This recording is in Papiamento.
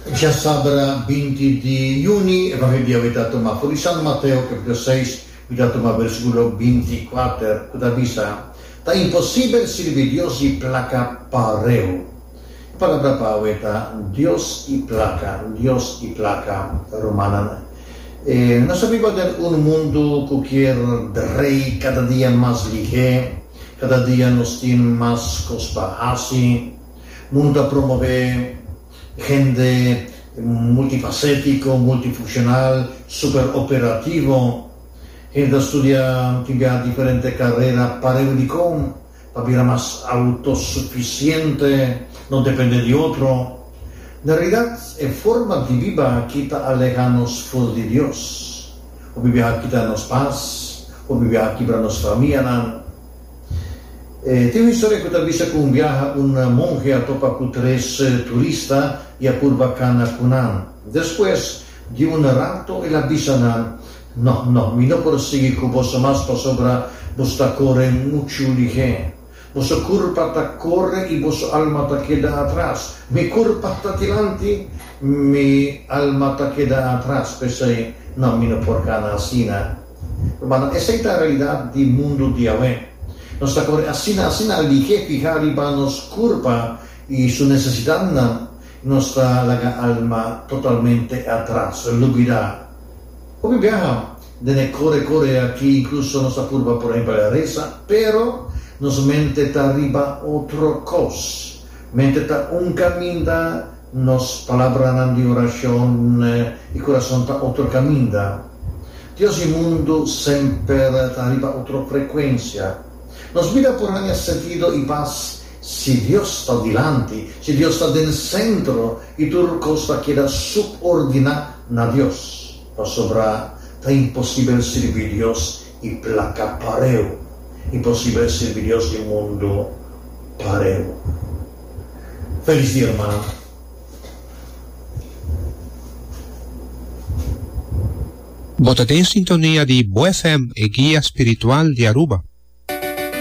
Djasabra 20 di yüni, Evangelio di awe ta tuma for di San Mateo kapitulo 6, mi ta tuma versíkulo 24, ku ta bisa, Ta imposibel sirbi Dios i plaka pareu. E palabra pa awe ta Dios i plaka, Dios i plaka, rumannan. Nos ta biba den un mundu ku kier drei kada dia mas lihé, kada dia nos tin mas kos pa hasi. Mundu ta promové hende multifasétiko, multifunshonal, superoperativo. Hende ta studia tin biaha diferente karera pareu dikon pa bira mas outosufisiente, no dependé di otro. Na realidat, e forma di biba aki ta alehá nos for di Dios. Hopi biaha kita nos pas, hopi biaha kibra nos famianan. Tin un historia ku ta bisa ku un biaha un monhe a topa ku tres turista i a purba kana ku nan. Despues di un rato el a bisa nan, No, no, mi no por sigui ku boso mas pasobra boso ta kore muchu lihé. Boso kurpa ta kore i boso alma ta keda atras. Mi kurpa ta dilanti, mi alma ta keda atras. P'esei, no, mi no por kana asina. Rumannan, esei ta realidat di mundu di awe. Nos ta kore asina asina lihé fihá riba nos kurpa i su nesesidatnan, i nos ta laga alma totalmente atras, lubidá. Hopi biaha den e kore kore aki inkluso nos ta purba por ehempel resa, pero nos mente ta riba otro kos. Mente ta un kaminda, nos palabranan di orashon i kurason ta otro kaminda. Dios i mundu semper ta riba otro frekuensia. Nos bida por haña sentido i pas si Dios ta dilanti, si Dios ta den sentro i tur kos ta keda supordiná na Dios. Pasobra ta imposibel sirbi Dios i plaka pareu. Imposibel sirbi Dios i mundu pareu. Felis dia rumannan. Bo ta den sintonia di Bo FM, e guia spiritual di Aruba.